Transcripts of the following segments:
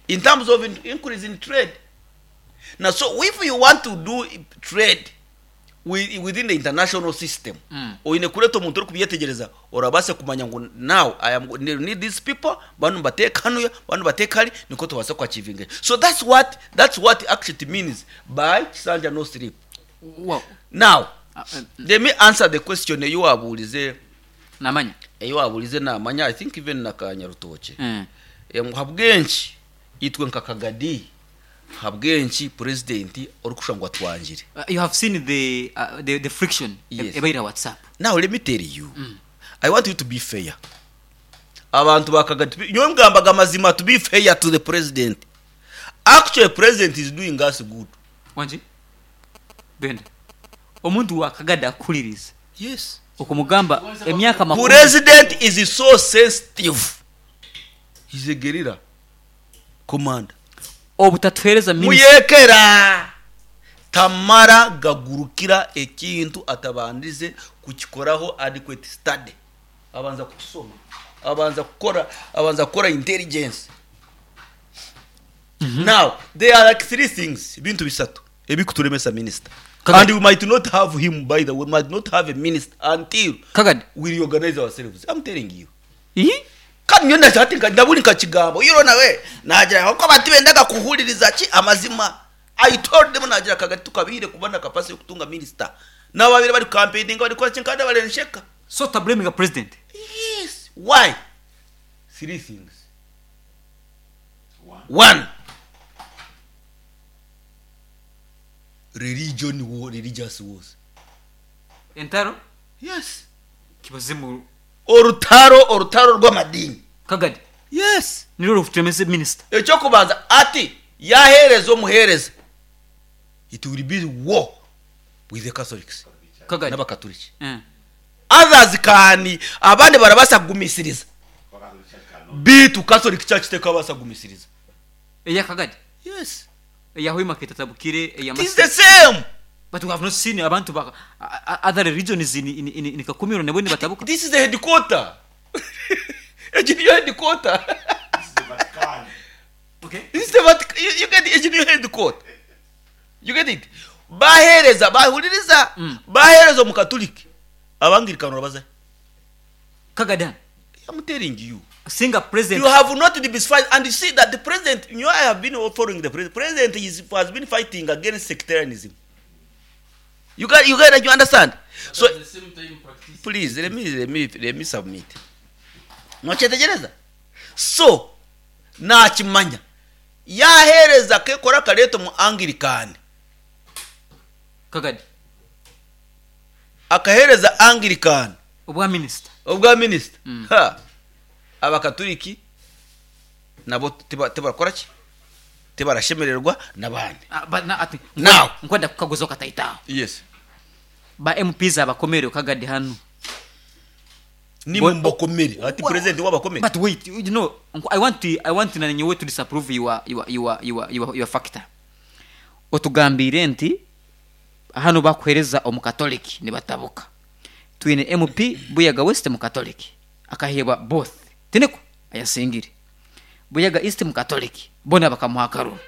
In terms of increase in trade. Na so if you want to do trade within the international system, oine kureeta omuntu orikubyetegyereza orabaase kumanya ngu now I am need these people, banu mbateeke hanuya, banu mbateeke hari, nikwo tubaase ku achievinga eki. So that's what, that's what actually it means by Kisanja no sleep. Well, Now, let me answer the question ei waabuurize, Namanya. ei waabuurize Namanya, I think even na Kanyarutookye. Mm. Ngu habw'enki itwe nka Kagadi, habw'enki Purezidenti orikushusha ngu atwangire? You have seen the, uh, the, the friction Yes. ebaire aha WhatsApp. Now let me tell you, I want you to be fair. Abantu ba Kagadi, to be, nyowe ngambaga amazima to be fair to the president. Actually president is doing us good. Wangi? Benda. Omuntu wa Kagadi akuhuririza. Yes. Okumugamba emyaka makumi. President is so sensitive. He's a guerrilla commander. Obutatuheereza minisita. Muyekera tamara gagurukira ekintu atabandize kukikoraho adequate study. Abanza kukisoma, abanza kukora, abanza kukora intelligence. Now, there are like three things, ebintu bisatu ebikuturemesa minister. Kagadi. And we might not have him, by the way, we might not have a minister until Kagadi. we reorganize ourselves. I'm telling you. Ii? Kandi nyowe ndagira hati ndaburi nkakigamba oyireho nawe naagira ngu ahabw'okuba tibendaga kuhuririza ki amazima. I told them naagira Kagari tukabaire kuba na capacity y'okutunga minister. N'ababaire bari kucampaigninga bari kukora ki kandi abarensheka. So otablaminga president? Yes. Why? Three things. One, religion war, religious wars. Entaro? Yes. Kibazimu. Orutaro, orutaro rw'amadiini. Kagadi. Yes. Nirwo rukuturemesa minister. Eky'okubanza ati yaheereza omuheereza it will be war with the Catholics Kagadi. n'abakaturiki. Eh. Others can abandi barabaasa kugumisiriza beitu Catholic Church tekabaasa kugumisiriza. Eya Kagadi? Yes. Eya Hoima ketatabukire, eya It is the Masisi. same. But we have not seen abantu ba other religions in, in, in, in Kakumiro nabo nibatabuka. This is the headquarter. Egi niyo headquarter. This is the Vatican. Okay. This is the Vatican. You, you get it? Egi niyo headquarter. You get it? Bahereza, bahuririza, bahereza omukatuliki. Abangirikani orabazahi? Kagadi. I'm telling you. Singa president. You have not demystified, and you see that the president, you know, I have been following the president. President is, has been fighting against sectarianism. You got, you got, you understand? But So at the same time practice. please let me, let me, let me submit. Nokyetegyereza? So nakimanya yahereza akekora akareeta omu Anglican. Kagadi. Akahereza Anglican. Obwa minister. Obwa minister. Ha. Abakaturiki nabo tibarakora ki? Tibarashemererwa n'abandi. Ah, but na, ati, Now. nkwenda kukaguza okataita aho. Yes. Ba MPs abakomere Kagadi hanu. Ni Bo- mbakomere. Ati president wabakomere. But wait, you know, I want to, I want na nyowe to disapprove your, your, your, your, your, your factor. Otugambire nti hanu bakuhereza omukatoliki nibatabuka. Twine MP Buyaga West mukatoliki akahebwa both. Tineko ayasingire. Buyaga East mukatoliki bona bakamuha akaruru.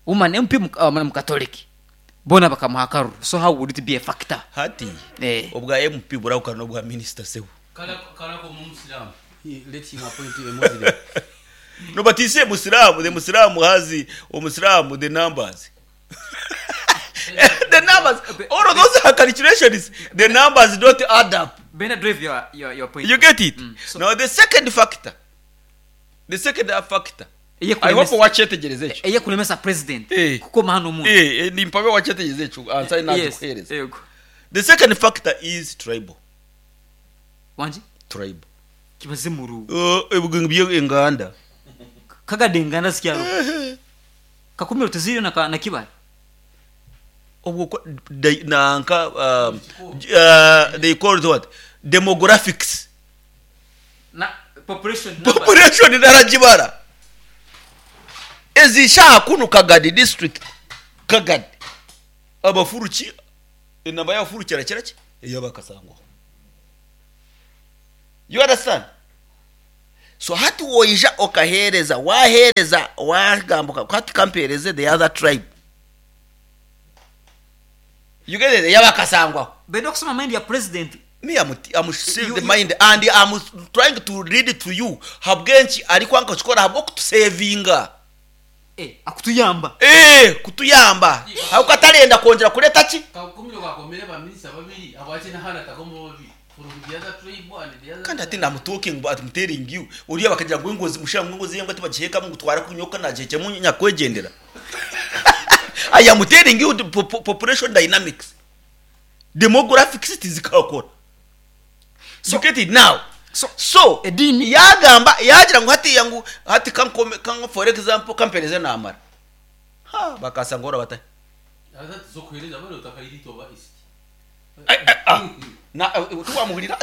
Woman MP mukatoliki bona bakamuha akaruru. So how would it be a factor? Hati Eh. obwa MP burahukana n'obwa minister sebo. Kala kala ko Muslim. He let him appoint a Muslim. No, but he say Muslim, the Muslim has the Muslim, the numbers. The numbers, all of those are calculations. The numbers don't add up. Bena drive your, your, your point. You get it? So, Now the second factor. The second factor. Eye I hope kulemesa- wakyetegereza ekyo. eye kulemesa president. Eh. Kuko mahano omuntu. Eh, eh, nimpabe wakyetegereza ekyo. Answer Yes. nakuhereza. Yego. The second factor is tribal. Wanji? Tribal. Kibazimuru. Ebugenge bye enganda. Kagade enganda zikyaro. Kakumiro teziriyo na ka, na kibale. Obwo ko, they, nanka, they call it what? Demographics. Na population numbers. Population naragibara. Ezi shaha kunu Kagadi district. Kagadi. Abafuruki enamba y'abafuruki erakira ki? Ey'abakasangwa. You understand? So hati woija okaheereza, waaheereza, waagamba hati ka mpeereze the other tribe. You get it? Ey'abakasangwaho. Benda okusoma mind ya president. Me am, am still the mind and am trying to read to you habw'enki arikwanga kukikora ahabw'okutusevinga. Eh, akutuyamba. Eh, kutuyamba ahabw'okuba tarenda kwongyera kureeta ki? Kakumiro kakomere ba minister babiri habwaki na hana takomo babiri from the other tribe and the other Kandi hati I'm talking but I'm telling you oriya bakagira ngu engozi mushira ngu engozi y'embwa tibagihekamu ngu twara kunyoka nagihekyamu nyakwegyendera. I am telling you the population dynamics. Demographics tizikakora. You get it now? So, So ediini yagamba yagira ngu hatiya ngu hati kankome kanko for example kampereze namara. Ha bakasanga ora batahi. Zokuhereza bari otakairito ba east. Na tiwamuhurira.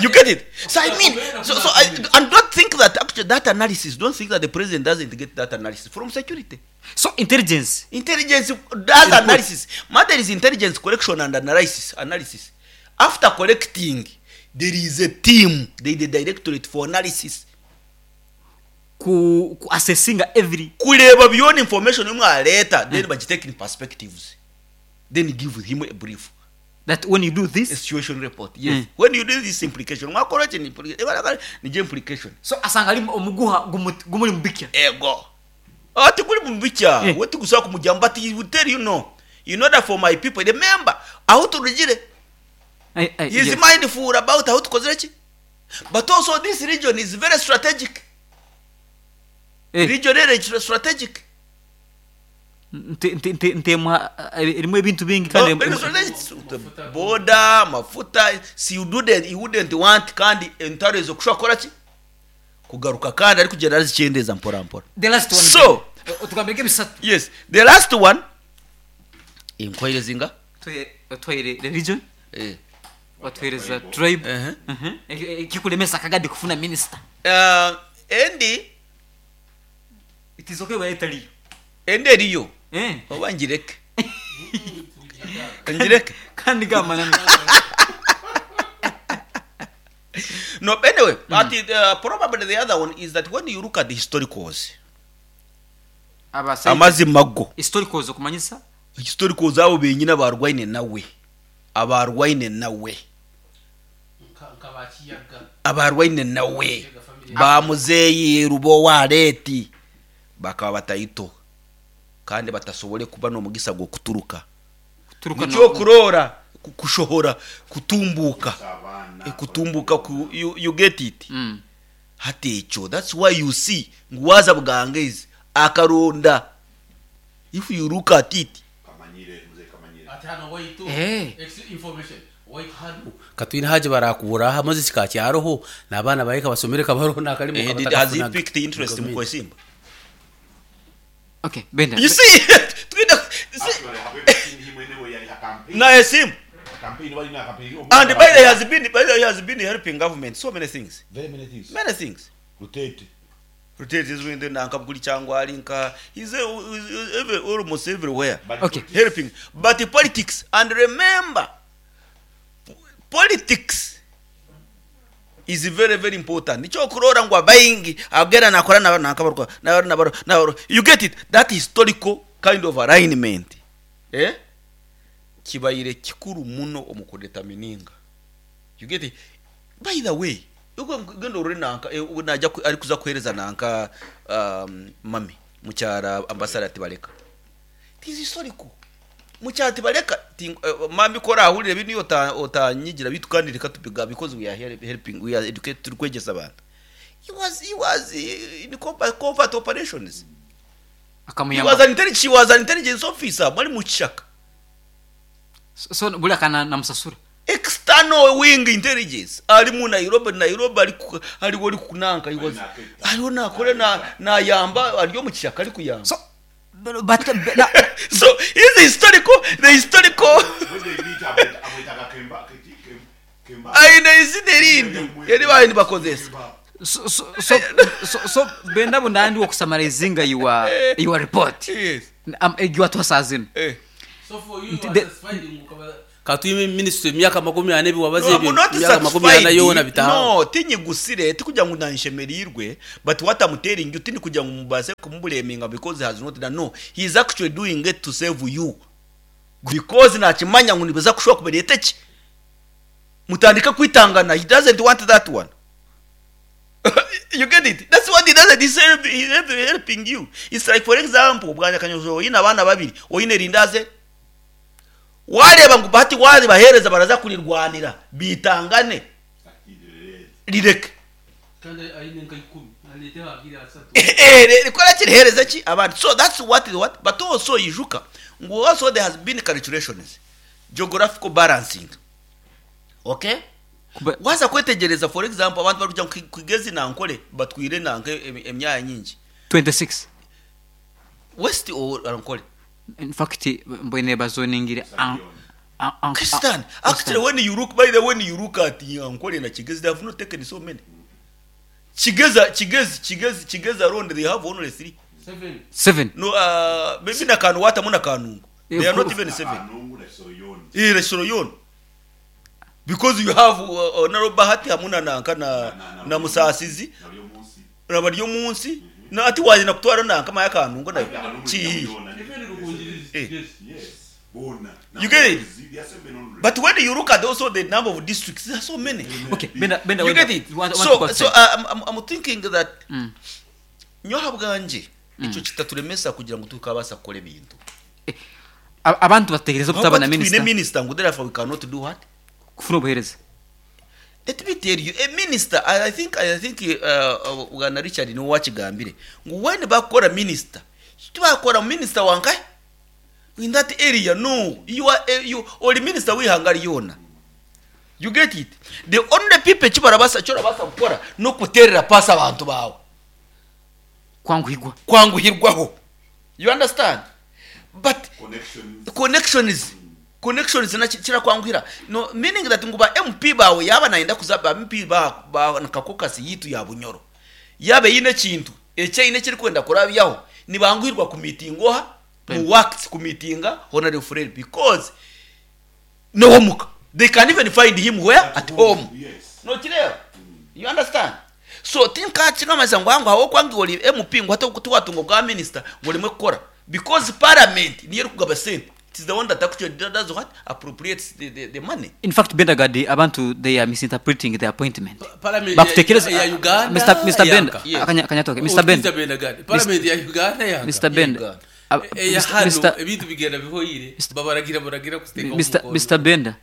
You get it? So I mean, so, so I, and don't think that actually that analysis, don't think that the president doesn't get that analysis from security. So intelligence. Intelligence does analysis. Matter is intelligence collection and analysis. Analysis. After collecting, there is a team, there is a directorate for analysis. Ku, ku assessinga every Kureeba byona information imwe aleeta, then bagitake in perspectives. Then give him a brief. That when you do this, A situation report. Yes. When you do this implication, mwakora ki implication? Nigyo implication. So asanga ari omuguha gumuri mubikya. Ego. Ati guri mubikya. Eh. We tigusobola kumugamba but he will tell you no. In order for my people, remember, ahu turugire. Ai, ai, He is yes. mindful about ahu tukozire ki. But also this region is very strategic. Eh. Region eri strategic. Nte- nte- nte- ntemwa eh, erimu ebintu bingi kandi Oh, very strategic. Border, mafuta, si you wouldn't, you wouldn't want kandi entaro ezo kushobora kukora ki? Kugaruka kandi arikugyenda arizikyendeeza mpora mpora. The last one. So, Eh, otugambire nk'ebisatu. yes, the last one enkoire zinga? Otwaire religion, Eh. watuhereza tribe. Uh-huh. Ekikulemesa akagadi kufuna minister. Endi It is okay bayetaliyo. endi eriyo. Eh. Oba ngireke. Ngireke. Kandi gamba No, anyway, but it, probably the other one is that when you look at the historicals, abasaiza amazima go historicals okumanyisa historicals abo benyine abarwaine nawe abarwaine nawe Nka bakiyaga. abarwaine nawe bamuzeeyi rubowareeti bakaba bataito kandi batasobole kuba n'omugisa gw'okuturuka kuturuka nikyo kuroora kushohora kutumbuka Abaana. Kutumbuka ku, you, you get it? Hati ekyo that's why you see ngu waza bugangaizi akaronda if you look at it. Kamanyire, mzee Kamanyire. Ati hano waitu. Eh. Ex information. Waitu hano. Katwine haje barakubura aha maze kikakyariho n'abaana baye kabasomere kabaroho n'akarimo Eh, has he picked interest mu kwesimba? Okay, benda. You see, twine see Actually, however, seen him anyway, yali ha campaign. na esimba. Campaign, wali na campaign. And by the way, has been by the way, he has been helping government so many things. Very many things. Many things. Rotate. Rotate is window nanka buli cyangwa ari nka he's, he's every, almost everywhere. But Okay. Helping. But the politics, and remember, politics is very very important. Nicho kurora ngu abaingi agera nakora na nakabarwa na na na you get it, that historical kind of alignment. Kibaire kikuru muno omu kudetermininga. You get it? By the way, uko gendo uri nanka naja ari kuza kuhereza nanka mami mukyara ambassador Tibaleka. It is historical. Mukyara Tibaleka mami kora ahurire bini otanyigira bitu kandi reka tubiga because we are here helping, we are educated turi kwegesa abantu. He was in combat operations. He Akamuyamba. was an intelligence, she was an intelligence officer bari mu kishaka. So buli akana namusasura. External wing intelligence ari mu Nairobi, Nairobi ari ari wari kunanka, he was ariho nakore na nayamba ari mu kishaka ari kuyamba. So but, but, na, so is historical, the historical When they meet, amwita Kemba, Kemba. aine izina erindi eri bahindi bakozesa. So so so so, so benda bundandi wokusamarizinga your report. Yes. Your twasazino. Eh. So for you, you are The satisfied Ka twime minisitule emyaka 40 ebi wabaza No, ebyo I'm not emyaka 40 satisfied. yoona bitaaho. No, tinyigusire, tikugira ngu nanshemereirwe, but what I'm telling you, tindikugira ngu mubaase kumublaminga because he has not done. No, he is actually doing it to save you. Because nakimanya ngu nibiza kushuba kubireeta ki? Mutandike kwitangana. He doesn't want that one. You get it? That's what he doesn't. He's, help, he's help, helping you. It's like, for example, bwanya kanyozo oyine abaana babiri, oyine rindaze. Wareeba ngu bahati wazibaheereza baraza kurirwanira, biitangane. Rireke. Rikora ki riheereze ki abandi. So that's what what but also ijuka ngu also there has been calculations, geographical balancing. Okay? Kuba- Waza kwetegyereza for example abantu barikugira ngu Kigezi na Ankole batwire nanka emyanya nyingi. 26 West or Ankole? In fact mbwene bazoningire Christian, actually when you look by the when you look at Ankole na Kigezi they have not taken so many. Kigezi Kigezi Kigezi Kigezi alone they have only 3. 7 No, maybe na Kanwata muna Kanungu. They are not even 7. Kanungu na Soroyoni. Eh, Soroyoni. Because you have Honorable Bahati hamuna nanka na na Musasizi na bari munsi na ati waje nakutwara nanka maya Kanungu nayo. Chi. Yes. Bona. You get it? They are 700. But when you look at also the number of districts, there are so many. Okay, Benda Benda You get it? Want, So, want so I'm thinking that nyoha bwanje ekyo kitaturemesa kugira ngu tukabasa kukora ebintu. Abantu bategereza obutaba na Twine minister minister ngu therefore we cannot do what? Kufuna obuhereza. Let me tell you, a minister, I think Bwana Richard niwe wakigambire ngu when bakora minister, tibakora minister wankai in that area. No, you are you ori minister w'ihanga ryona. You get it? The only people kibarabasa kyorabasa kukora no kuterera pasi abantu bawe. Kwanguhirwa. Kwanguhirwaho. You understand? But connections connections na kirakwanguhira. No, meaning that ngu ba MP bawe yaba nayenda kuza ba MP ba nakakokasi yitu ya Bunyoro. Yabe yine kintu ekye kiri kwenda kurabyaho nibanguhirwa ku meeting oha mu works ku meetinga Honorable Fred because no homuka. They can even find him where? At home. Yes. No kireba. You understand? So tinka kingamasa ngo hango aho kwangi oli MP ngo hata tuwatungo bwa minister ngo rimwe kukora because parliament niyo kugaba sente. It is the one that actually does what? Appropriates the money. In fact Benda Gadi abantu they are misinterpreting the appointment. Parliament Bakutekereza ya Uganda. Mr Benda Yes. akanyatoke Mr Benda. Mr Benda Gadi. Parliament ya Uganda yanga. Mr Benda. Uganda. Ya hano Mr. ebintu bigenda bihoyire babaragira baragira kuteka Mr Benda.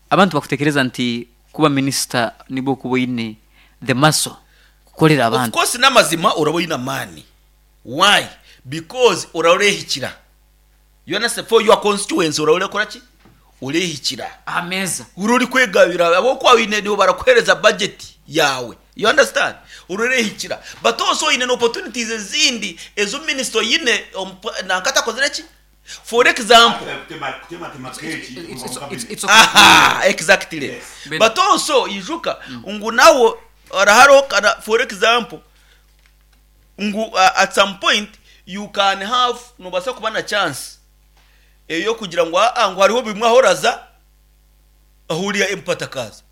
Abantu bakutekereza nti kuba minister nibo kuba ine the muscle kukolera Of abantu. course n'amazima uraba oyine amaani. Why? Because orarehikira. You understand? For your constituency urareka ki? Urehikira. Ameza. Ururi kwegabira abo kwa wine nibo barakuhereza budget yawe. You understand? Ururehikira. But also in an opportunities ezindi ezo minister yine nankata kozere ki? For example, It's okay. Aha, exactly. Yes. But also ijuka ngu nawo araharo kana for example ngu at some point you can have nobasa kuba na chance eyo kugira ngu ngu hariho bimwe ahoraza ahuriya empatakaza.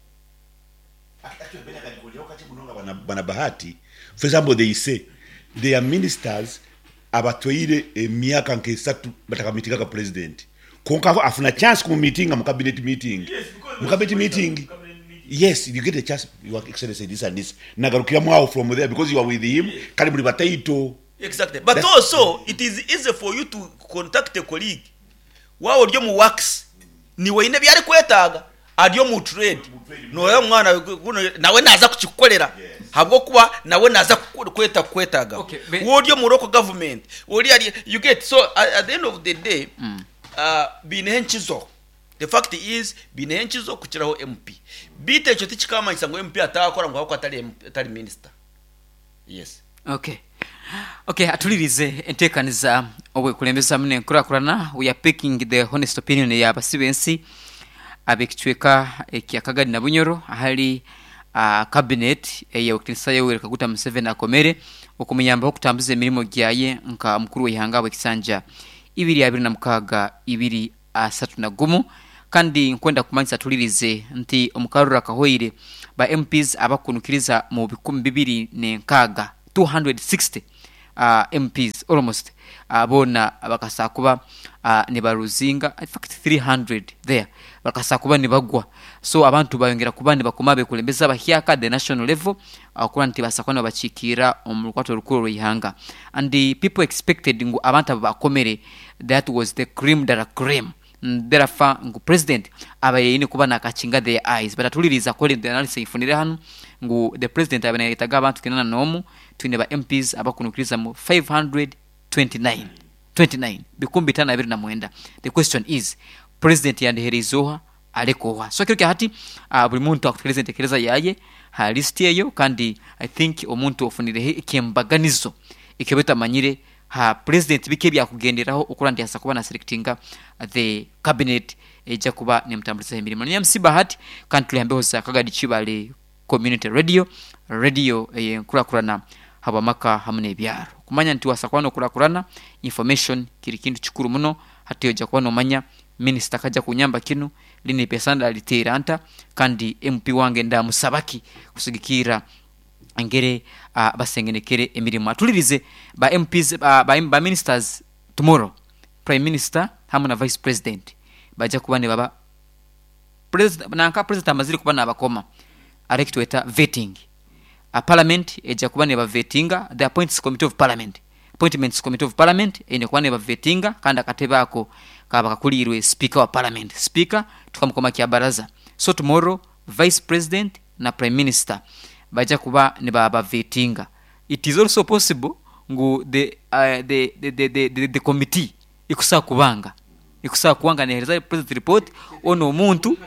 Bana Bahati, for example, they say they are ministers abatwaire emyaka nk'esatu batakamitinga president. Konka afuna chance ku meeting mu cabinet meeting. Mu cabinet meeting. Yes, you get a chance, your excellency this and this. Nagarukira mwaho from there because you are with him. Kali muri bataito. Exactly. But also it is easy for you to contact a colleague. Wawo ryo mu works ni weine byari kwetaga aryo mu trade. Noya mwana nawe naza kukikolera. Habwo kuba nawe naza kweta kwetaga. Okay, Wo ryo mu local government. Ori ari you get so at the end of the day binehe nkizo. The fact is binehe nkizo kukiraho MP. Bite ekyo tikikamanyisa ngo MP atakora ngo hako atari minister. Yes. Okay. Okay, atulirize enteekaniza obwekulembeza mune enkurakurana. We are picking the honest opinion ya basibensi ab'ekicweka ekya Kagadi na Bunyoro ahali cabinet eya Yoweri Kaguta Museveni akomere okumuyambaho okutambuza emirimu gyaye nka mukuru w'ihanga w'ekisanja 2026 2031. Kandi nkwenda kumanyisa tulirize nti omu karuru akahweire ba MPs abakunukiriza mu 260, 260 MPs almost boona bakasaa kuba nibaruzinga, in fact 300 there bakasaa kuba nibagwa. So abantu bayongera kuba nibakoma abekulembeze abahyaka at the national level okuba nti baasa kuba nibabakiikirira omu rukwato orukuru orw'eihanga. And people expected ngu abantu abo bakomere that was the cream de la cream. Therefore ngu president abaire aine kuba nakakinga their eyes but atuliriize according to the analysis eifunire hanu ngu the president abaire nayetaga abantu kinana nomu twine ba MPs abakunukiriza mu 529 29 529 the question is president yandihereize oha areke oha so ekiro kyahati buri muntu akutekereza entekereza yaye ha list eyo kandi I think omuntu ofunireho ekyembaganizo ekyoba otamanyire Ha president biki ebyakugenderaho okurora nti asobola kuba na selectinga the cabinet eija kuba nemutamburizaho emirimo. Ni MC Bahati kandi turi hambeho za Kagadi Kibale Community Radio, radio eyenkurakurana habwamaka hamu nebyaro. Kumanya nti wasobola kuba nokurakurana, information kiri kintu kikuru muno, hati oija kuba nomanya minister akaja kunyamba kinu, linu ipesa ndaliteera nta kandi MP wange ndamusabaki kusigikirra engeri basengenekere emirimo. Atulirize ba MPs, ba ministers tomorrow, Prime Minister hamu na Vice President baija kuba nibaba nanka President amazire kuba nabakoma hariho ekitweta vetting. Parliament eija kuba nebavetinga, the appoints committee of parliament, appointments committee of parliament eine kuba nebavetinga kandi akatebe ako kaba kakuliirwe Speaker wa Parliament. Speaker tukamukoma Kyabaraza. So tomorrow Vice President na Prime Minister baija kuba nibabavetinga. It is also possible ngu the the the the the committee ekusobola kubanga ekusobola kuba nga nehereza President report onu omuntu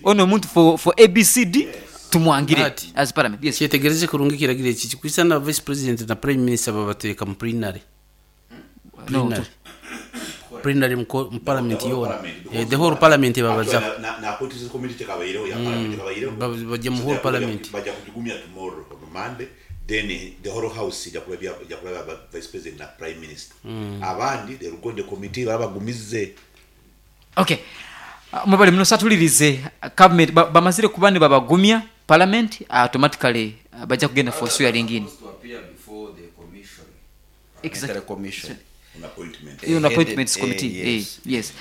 onu omuntu for for ABCD tumwangire Bahati, as parliament. Yes. kyetegereze kurungi ekiragiro eki, kikwisana Vice President na Prime Minister babateeka mu plenary. No, Plenary. Plenary mu ko- mu parliament yoona. Eh, the whole parliament ebabazaho. Na na appointments committee tekabaireho ya parliament tekabaireho. Bajja mu whole parliament. Bajja kugigumya tomorrow on Monday then the whole house ija kulabya ija kulaba vice president na prime minister. Abandi they will go in the committee baba bagumize. Okay. Mwebale muno satulirize cabinet bamazire kuba nibabagumya parliament automatically baija kugenda for swearing in. To appear before the commission. Exactly. Military commission. On appointment. On appointments Headed, committee. yes. Yes.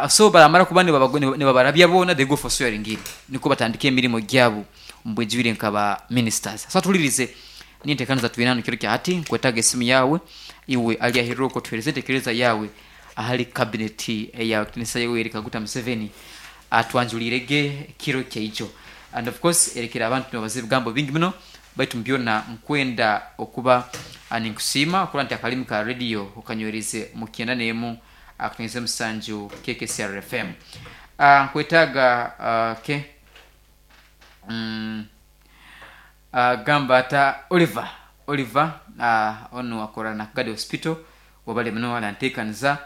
So baramara kuba nibabarabya boona they go for swearing in. Nikwo batandika emirimo gyabo omu bwijwire nka ba ministers. So atulirize n'enteekaniza twine hanu kiro kya hati nkwetaaga esimu yaawe iwe ali aheeru okwo otuheereze entekereza yaawe ahari cabinet eya Kitinisa Yoweri Kaguta Museveni atwanjuliire ge kiro kyaijo. And of course erekere abantu nibabaza ebigambo bingi muno baitu mubyona nkwenda okuba ninkusiima okurora nti akarimi ka radio okanywereize mu kyenda n'emu akatonyeze musanju KKCR FM. Nkwetaaga okay. Gamba ata Oliver, Oliver onu akora na Kagadi Hospital wabale muno arantekaniza.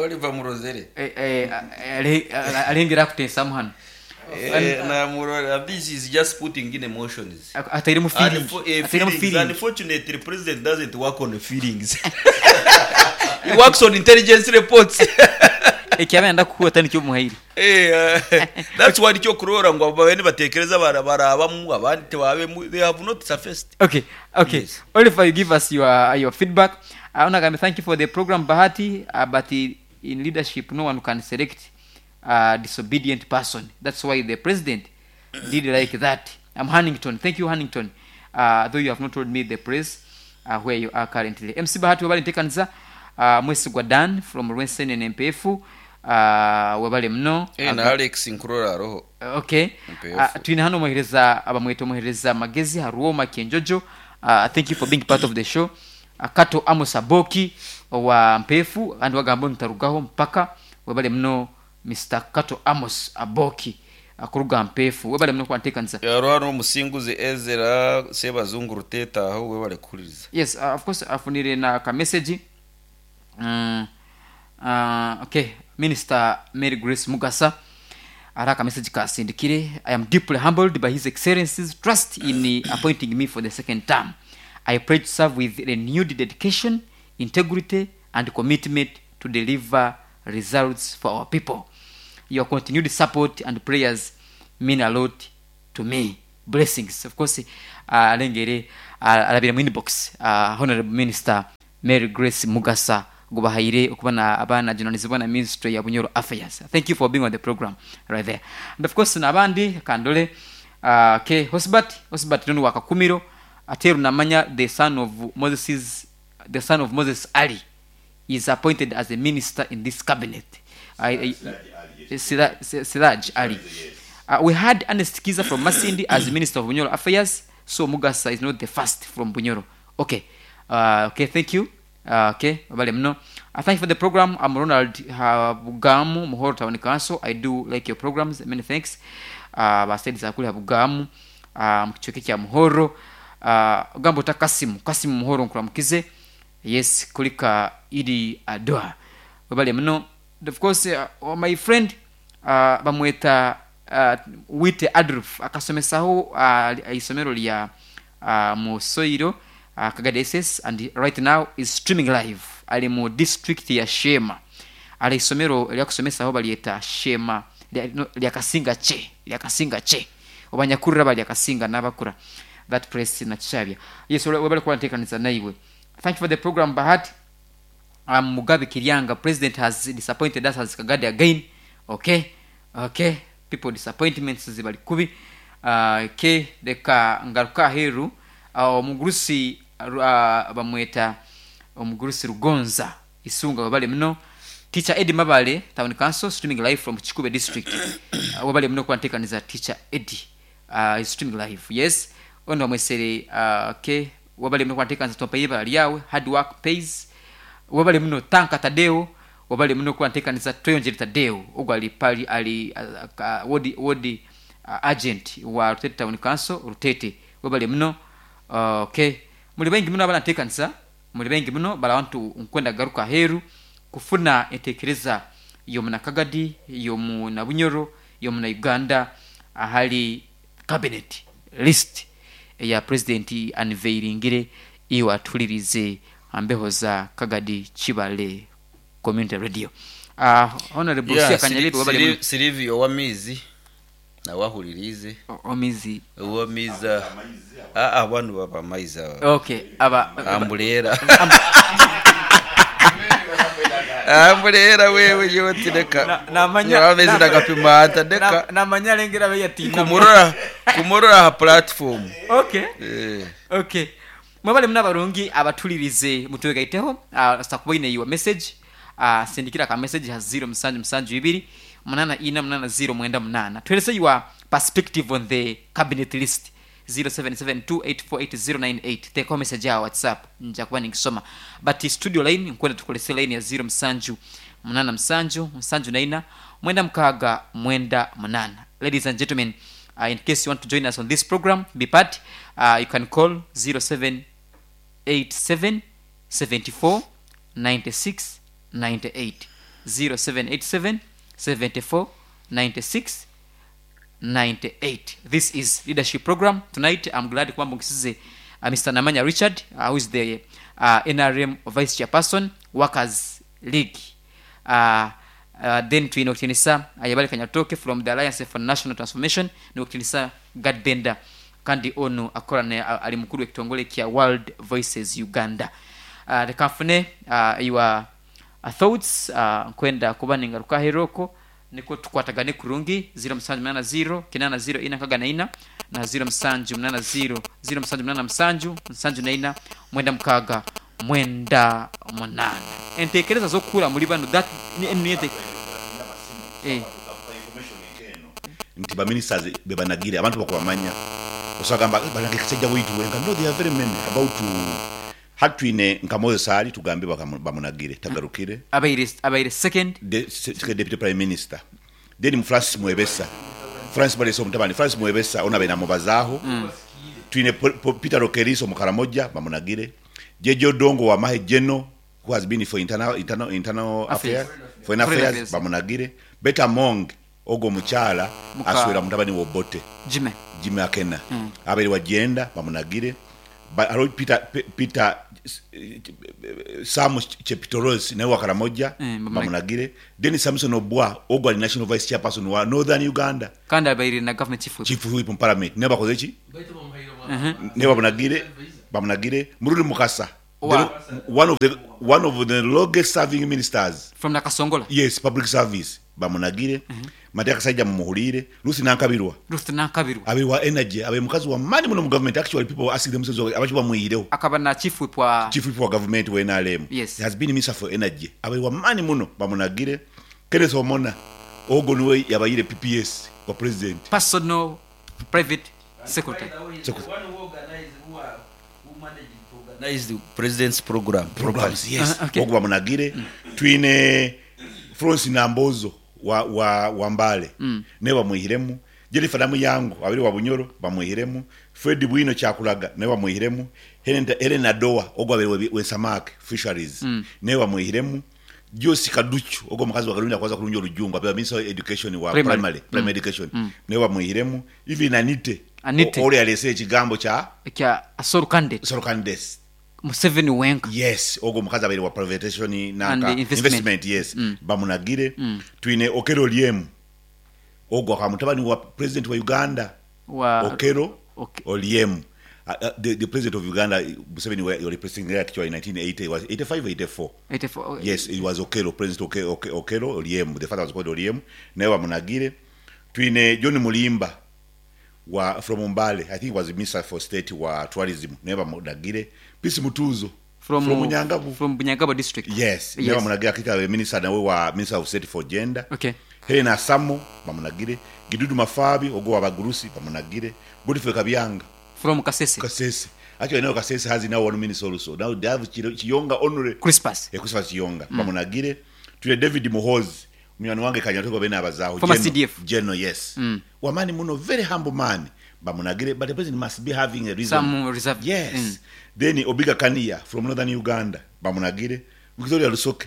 Oliver Murozere. Arengera akuteesamu hanu. Namurora, this is just putting in emotions. Atairemu feeling. Atairemu Feelings. feeling. Unfortunately, president doesn't work on feelings. He works on intelligence reports. Eki aba nayenda kukuha tani omuhaire. That's why nikyo kurora ngu abo nibatekereza barabamu abandi tibabemu they have not surfaced. Okay. Yes. Oliver, you give us your feedback. Onagambe thank you for the program Bahati, but in leadership no one can select a disobedient person. That's why the president did like that. I'm Hannington. Thank you, Hannington. Though you have not told me the place where you are currently. MC Bahati wabale ntekaniza Mwesigwa Dan from Rwensenene MPF. Wabale muno. Na Alex Nkurora aroho. Okay. MPF. Twine hano omuhereza abamweta omuhereza Magezi Haruoma Kenjojo. Thank you for being part of the show. Kato Amos Aboki owa Mpefu kandi wagamba ntarugaho mpaka webale muno Mr. Kato Amos Aboki akuruga Mpefu webale muno kwantekanisa. Yaroha n'omusinguzi Ezra Sebazungu Ruteta aho webale kuhuririza. Yes, of course afunire na ka message. Okay, Minister Mary Grace Mugasa ara ka message kasindikire. I am deeply humbled by His Excellency's trust in appointing me for the second term. I pledge to serve with renewed dedication, integrity and commitment to deliver results for our people. Your continued support and prayers mean a lot to me. Blessings. Of course arengere arabire mu inbox Honorable Minister Mary Grace Mugasa gubahaire okuba na aba najunanizibwa na Ministry ya Bunyoro Affairs. Thank you for being on the program right there. And of course nabandi kandole okay Hosbert Hosbert nonu wa Kakumiro Ateru namanya the son of Moses the son of Moses Ali is appointed as a minister in this cabinet. I, I, Siraj Ali. We had Ernest Kiza from Masindi as Minister of Bunyoro Affairs, so Mugasa is not the first from Bunyoro. Okay, okay, thank you. Okay, wabale muno. Thank you for the program. I'm Ronald Habugamu, Muhoro Town Council. I do like your programs. Many thanks. Basaidi kuli Habugamu, mu kicweka kya Muhoro. Ogamba ota Kasimu, Kasimu Muhoro nkuramukize. Yes, kulika Idi Adoa. Webale muno. Of course, my friend bamweta Wite Adolf akasomesaho isomero lya Musoiro Kagadi SS and right now is streaming live. Ali mu district ya Shema. Ali isomero lya kusomesaho balyeta Shema lya Kasinga che, lya Kasinga che. Obanyakurra bali Kasinga nabakura. That place na Kishabya. Yes, webale kuba ntekanisa naiwe. Thank you for the program, Bahati. Mugabe Kiryanga, president has disappointed us as Kagadi again. Okay, okay. People disappointments zibali kubi. Okay, leka ngaruka aheeru. Omugurusi bamweta omugurusi Rugonza Isunga wabale muno. Teacher Eddie Mabale, Town Council, streaming live from Kikube District. Wabale muno kubanteekaniza Teacher Eddie is streaming live. Yes, ono bamwesere okay. Wabale muno kubanteekaniza Tompaire ibara lyawe, hard work pays. Wabale muno Tanka Tadeo, wabale muno kubanteekaniza Tweyonjere Tadeo, ogwo ali pali ali ward agent wa Rutete Town Council Rutete. Wabale muno okay. Muri baingi muno abaranteekanisa, muri baingi muno barabantu nkwenda garuka aheeru kufuna enteekereza y'omuna Kagadi, y'omuna Bunyoro, y'omuna Uganda ahari cabinet list eya president unveiringire iwe atuhuririze aha mbeho za Kagadi Kibale Community Radio. Honorable Yeah, Lucia Kanyarebe wabale muno. Sylvia ow'amaizi nawe ahuririize. Ow'amaizi. Ow'amaizi banu baba amaizi aba. Okay, aba Ambuleera. Ambuleera wewe yewe tireka. Namanya Amaizi nagapima ata ndeka. Namanya arengera abe yatina. Kumurora kumurora aha platform. Okay. Okay. Mwebale muno abarungi abatulirize mutwegaiteho sakubaine your message sindikira ka message ha 0 musanju musanju ibiri munana ina munana 0 mwenda munana. Tueleze your perspective on the cabinet list 0772848098. Teko message ya WhatsApp nja kuba ningisoma. But studio line nkwenda tukolese line ya 0 musanju munana musanju musanju na ina mwenda mukaga mwenda munana. Ladies and gentlemen, in case you want to join us on this program, be part, you can call 0787 74 96 98. 0787 74 96 98. This is leadership program. Tonight I'm glad kwamba nkisize Mr. Namanya Richard, who is the NRM Vice Chairperson, Workers League. Then twine okutinisa Ayabale Kanyatoke from the Alliance for National Transformation, n'okutinisa Gad Benda kandi ono akora ne ali mukuru w'ekitongole kya World Voices Uganda. Reka nfune your thoughts nkwenda kuba ningaruka aheeru nikwo tukwatagane kurungi 0 musanju munana 0 kinana 0 ina nkaga na ina na 0 musanju munana 0 0 musanju munana musanju musanju na ina mwenda mukaga mwenda munana. Entekereza z'okukura muri bano that ni ni ente Nti ba ministers bebanagire abantu bakubamanya osagamba banage kisajja witu wenka. No, there are very many about to hatwine nka Moses ali tugambe bamunagire tagarukire abaire second second deputy prime minister. Then Francis Mwebesa, Francis Mwebesa omutabani Francis Mwebesa ona bena mubazaho. Twine Peter Rokeriso mukaramoja bamunagire. Jejo Dongo wa Mahe Geno who has been for internal Affairs. affairs, foreign Foreign affairs, affairs. bamunagire. Beta Mong ogo mukyala aswera mutabani wo Bote Jime Jime Akena. Abere wa gender bamunagire. Ba, alo Peter Sam Chepitoros nawe wa Karamoja bamunagire. Then Samson Obwa ogwo ari National Vice Chairperson wa Northern Uganda. Kandi abaire na Government Chief Whip. Chief Whip mu Parliament nawe bakoze ki? Nawe bamunagire, bamunagire. Mururi Mukasa, Owa. one of the, one of the longest serving ministers. From Nakasongola. Yes, public service bamunagire. Matia Kasaija mumuhuriire. Ruth Nankabirwa. Ruth Nankabirwa. Abaire wa Energy, abaire mukazi wa maani muno mu government. Actually people ask themselves abaki bamwihireho. Akaba na Chief Whip wa. Chief Whip wa government wa nrm. Yes. He has been Minister for Energy. Abaire wa maani muno bamunagire. Kenneth Omona ogwo niwe yabaire PPS wa President. Personal Private Secretary. President's program. Programs, yes. Okay. Ogwo bamunagire. Twine Florence Nambozo wa, wa, wa Mbale mm. naye bamwihiremu. Jennifer Namuyangu abiri wa Bunyoro bamwihiremu. Fred Bwino Kyakulaga naye bamwihiremu. Helen, Helen Adoa ogwo abiri we, we Samak Fisheries mm. naye bamwihiremu. Joyce Kaduchu ogwo omukazi wa Karundi akwaza kurungi olujungu abiri Minister of Education wa Primary. primary, primary education mm. naye bamwihiremu. Even Anite Anite. ori alese ekigambo kya Ekya Asoro candidate. Soro candidates. Museveni wenka. Yes, ogwo omukazi abaire wa privatization And nanka the investment. investment, yes. Mm. Bamunagire. Mm. Twine Okello Oryem ogwo akaba mutabani wa president wa Uganda Wa Okello Okay. Oryem. The president of Uganda Museveni was replacing there actually in 1980, it was 85 84. 84. Yes, it was Okello, President Okello Oryem. The father was called Oryem. Naye bamunagire. Twine John Mulimba wa from Mbale. I think he was Minister for State wa Tourism. Naye bamunagire. Peace Mutuzo from Bunyangabu. From Bunyangabo district. Yes, Yes. naye bamunagire akita minister nawe wa Minister of State for Gender. Okay. Helena Samo bamunagire. Gidudu Mafabi ogwo wabagurusi bamunagire. Godfrey Kabyanga From Kasese. Kasese. Actually now Kasese has now one minister also. Now they have Chiyonga Honore Crispus. Christopher Chiyonga mm. bamunagire. Tule David Muhoozi munywani wange kanyatoka bene abazaho Former Geno, CDF. Geno, yes. Mm. Wamani muno, very humble man bamunagire, but the president must be having a reason. Some reserve. Yes. Mm. Then Obiga Kania from Northern Uganda bamunagire. Victoria Lusoke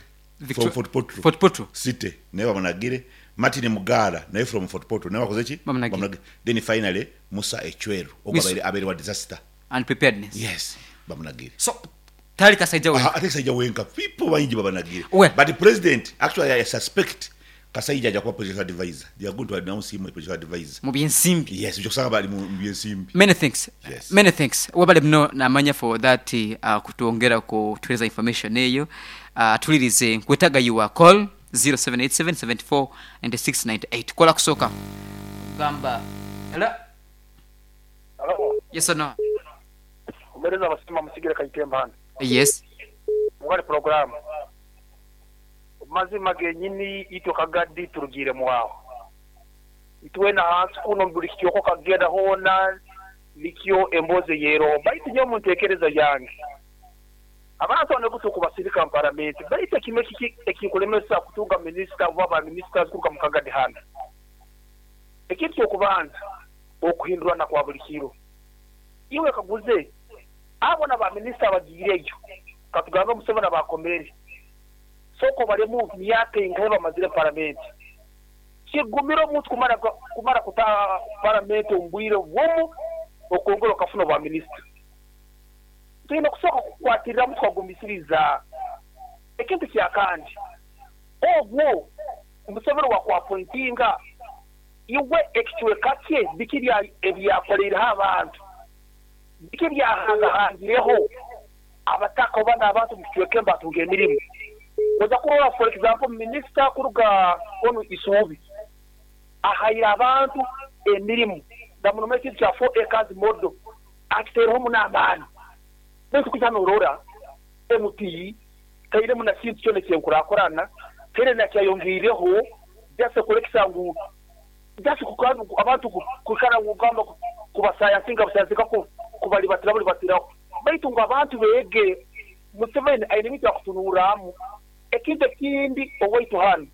from Fort Portal. Fort Portal. City naye bamunagire. Martin Mugara naye from Fort Portal naye bakoze ki? Bamunagire. Then finally Musa Echweru ogwo abaire wa disaster And preparedness. Yes, bamunagire. So tali Kasaija wenka. Ate Kasaija wenka people bangi babanagire. Well. But the president actually I suspect Kasaija aja kuba presidential advisor. They are going to announce him a presidential advisor. Mu byensimbi. Yes, ojja kusanga bali mu byensimbi. Many thanks. Yes. Many thanks. Wabale muno namanya for that kutwongera kutuhereza information eyo. Tulirize nkwetaga your call 0787 74 96 98. Kola kusoka. Gamba. Hello. Hello. Yes or no? Omereza abasima musigire Kaitemba hano. Yes. Mugale program. Mazima genyini itwe kagadi turugire mwaho. Itwena hansi kuno buli kityoko kagenda hona likyo emboze yero. Baitu nyo muntekereza yange. Abantu bano kutuka basirika mu parliament. Baitu kimwe kiki ekikulemesa kutunga minister oba ba ministers kuruka mu kagadi hano. Ekintu ky'okubanza okuhindurana kwa buli kiro. Iwe kaguze abo na ba minister bagiireyo katugambe Museveni abakomere soko baremu myaka ingahe bamazire parliament kigumira omuntu kumara kuta parliament ombwire bwomu okongera okafuna ba minister. Tulina kusooka kukwatiriramu tukagumisiriza ekintu kyakandi ogwo Museveni wakwapointinga iwe ekicweka kye biki ebyakoleireho abantu biki byahangahangireho abataka oba n'abantu mu kicweka embatunga emirimu. Oza kurora for example minister kuruga onu Isubi ahaire abantu emirimu ndamunoma ekintu kya 4 acres model akiteereho n'amaani. Baitu kuja norora MP tairemu na kintu kyona ekyenkurakurana taire nakyayongiireho just kurekisa ngu just abantu kukara kugamba kubasayansinga busayansinga kubalibatira balibatiraho baitu ngu abantu beege Museveni aine ebintu byakutunuramu. Ekintu ekindi owaitu hanu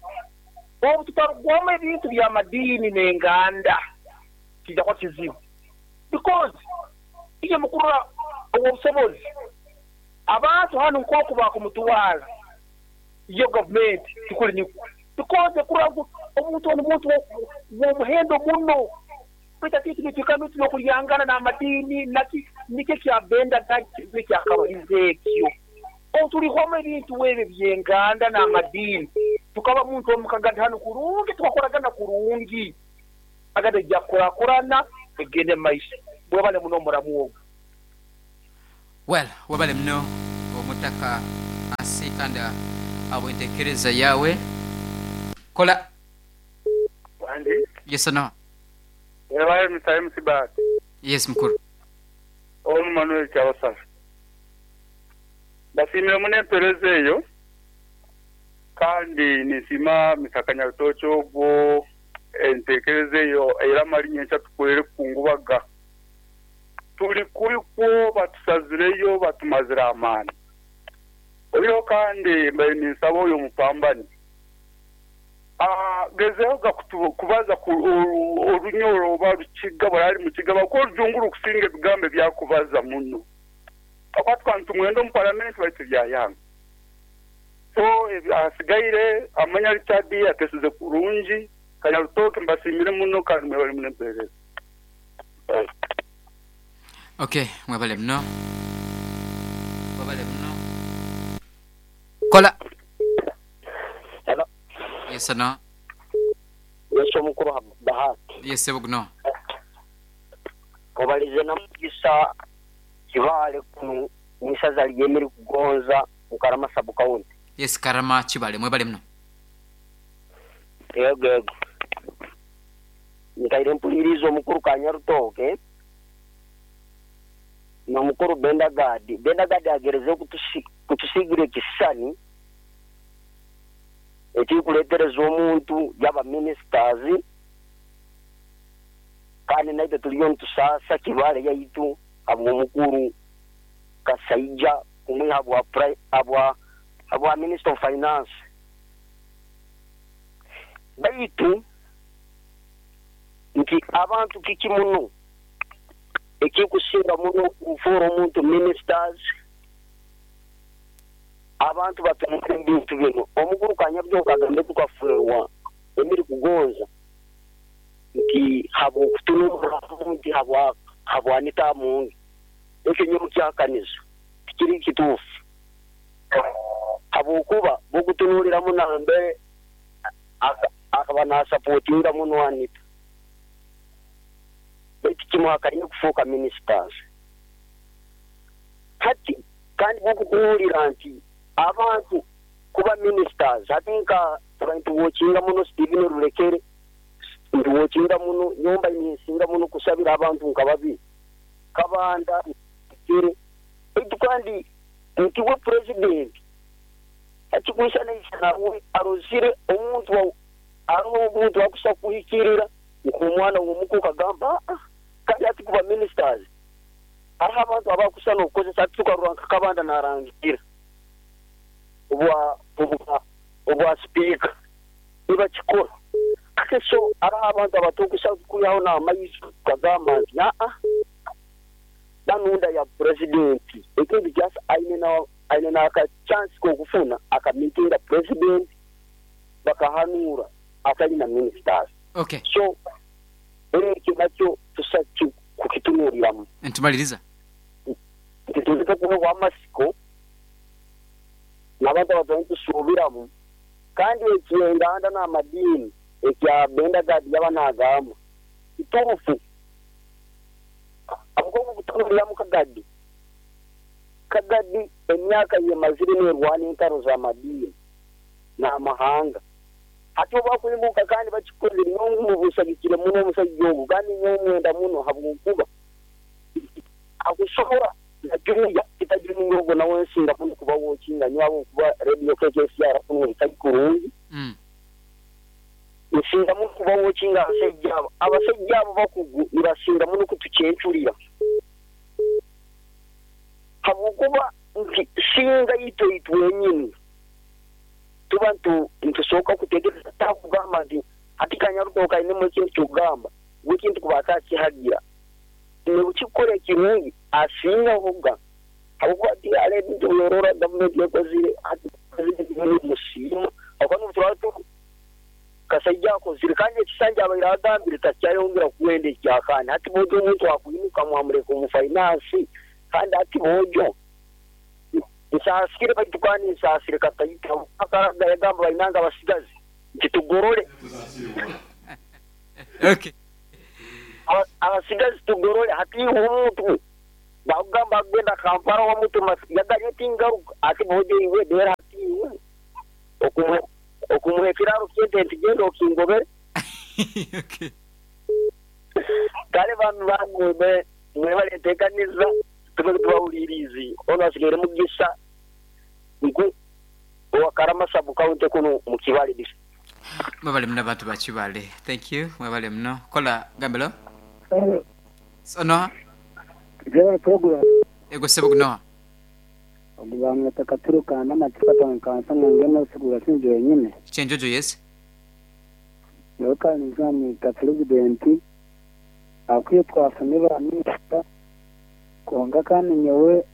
obu tutarugwamu ebintu by'amadiini n'enganda kijja kuba kizibu because iyo mukurora obusobozi abantu hanu nk'oku bakumutwara iyo gavumenti tikuli nikwo because kurora ngu omuntu onu muntu w'omuhendo muno baitu ati nitwikara n'okulyangana n'amadiini naki Nikyo ekya Benda Gadi ekyakabalize ekyo. Obu turihwamu ebintu ebi eby'enganda n'amadiini, tukaba muntu omu kagadi hanu kurungi, tukakoragana kurungi. Kagadi eija kukurakurana egende mu maiso. Mwebale muno omuramu ogu. Well, webale muno Omutaka Asiikanda ahabw'entekereza yaawe. Kola. Wandi. Yes no. Webale Mister MC Bahati. Yes mukuru. Onu Manuel Kyabasaba. Mbasiimire muno empereza eyo kandi ninsiima Mister Kanyarutookye ogwo entekereza eyo eramara nyenkya tukwere kukungubaga. Turi kubi kwo batusazireyo batumazire amaani. Oihireho kandi mbaire ninsaba oyo omupambani agezeho ga kubaza Orunyoro oba Rukiga buri ari Mukiga ahabw'okuba Orujungu rukusinga ebigambo ebi arikubaza muno. Ahabw'okuba tukaba nitumwenda omu paramenti baitu byayanga. So ahasigaire Amanya Richard atesize kurungi. Kanyarutoke mbasiimire muno kandi mwebare muno empeereza. Ok mwebale muno mwebale muno kola. Hello. Yes no. Yes omukuru Bahati. Yes sebo guno. Obalize na Mugisa Kibale kunu mwisaza lye Mirikugonza mu Karama sub county. Yes Karama Kibale mwebale muno. Yego yego. Nkaire mpuliriize omukuru Kanyarutooke n'omukuru Bendagadi. Bendagadi agerezeho kutusiigira ekisisani ekirikureetereza omuntu yaaba ministers kandi naitwe turiyo nitusaasa Kibaale yaitu ahabw'omukuru Kasaija kumwiha ahabwa Minister of Finance. Baitu nti abantu kiki muno ekirikusinga muno kufuura omuntu ministers? Abantu batunura ebintu binu. Omukuru Kanyabyoka agambe tukafeerwa Emiri Kugonza nti habw'okutunurramu nti habwa Anita Amongi. Ekyo nyowe nkyahakaniza tikiri kituufu habw'okuba bw'okutunuuliramu nambere akaba nasapotinga muno Anita baitu kimuhakaine kufuuka ministers. Hati kandi bw'okutunuulira nti abantu kuba ministers hati nka tuba nituwokinga muno Stephen Rurekere, nituwokinga muno nyowe mbaire ninsinga muno kusabira abantu nka babiri Kabanda, Rurekere baitu kandi nti we purezidenti Akikwisanaisana we arozire omuntu aroho omuntu akusa kuhikirira nk'omwana w'omuka okagamba aa kandi hati kuba ministers haroho abantu abakusa n'okukozesa hati tukarora nka Kabanda narangira obwa obwa obwa sipiika nibakikora hati so haroho abantu abatukusa kwihaho n'amaiso tukagamba nti aa banunda ya purezidenti ekindi kyasa aine na Aine n'aka chance k'okufuna akamitinga president bakahanuura atari na ministers. Okay. So ekyo nakyo tusa kukitunuliramu. Nitumaliriza. Nti tundike kuhebwa amatsiko n'abantu abu nitusuubiramu kandi eky'enganda n'amadiini ekya Benda Gad yaba naagamba kituufu. Ahabw'okuba obutunuliramu Kagadi Kagadi emyaka ei emazire neerwana entaro z'amadiini n'amahanga. Hati obu bakwimuka kandi bakikozire, nyowe mubusagikire muno omusaija ogu, kandi nyowe mwenda muno habw'okuba akusobora na Junior Peter Junior ogwo nawe nsinga muno kuba wokinga nyowe ahabw'okuba Radio KKCR kunu etari kurungi. Nsinga muno kuba wokinga abasaija abo. Abasaija abo bakugu nibasinga muno kutucencurira. Habwokuba nti singa itwe itwenyini tuba nitusoka kutegereza takugamba nti hati Kanyarutoka ainemu ekintu kyokugamba ngu ekintu kuba atakihagira nobukikukora ekirungi asingahoga habwokuba hati hariho ebintu ebyorora gavumenti ekozire hati purezidenti wenyini musiima habwokuba nobuturaba Kasaija akozire kandi ekisanja. yabaire agambire takyayongera kuwenda ekyakaani. Hati boojo omuntu akwimuka mwamureka omu finance kandi hati boojo nsaasire baitu kandi nsaasire kataito akaraga yagamba bainange abasigazi nti tugorore. Okay. Abasigazi tugorore hati iwe omuntu bakugamba akugenda Kampala wamutuma yaganya tingaruka ati boojo iwe dera hati iwe okumuha okumuha ekiraro ky'ente nti genda okingobere. Okay. Kale bami bange mwe mwebale entekaniza tube tubahuliriize. Onu asigaire Mugisa ngu owa Karama sub county kunu mu Kibale district. Mwebale muno abantu ba Kibale. Thank you. Mwebale muno. Kola gambelo. Hello. So noha? General program. Ego sebo gunoha. Ogu bamweta Katuro kandi amacupa kansa ngu ngende osigura sinje wenyine. Kyenjojo yes. Nyowe kandi nzamwita purezidenti akwiye twafune ba minisita kwonka kandi nyowe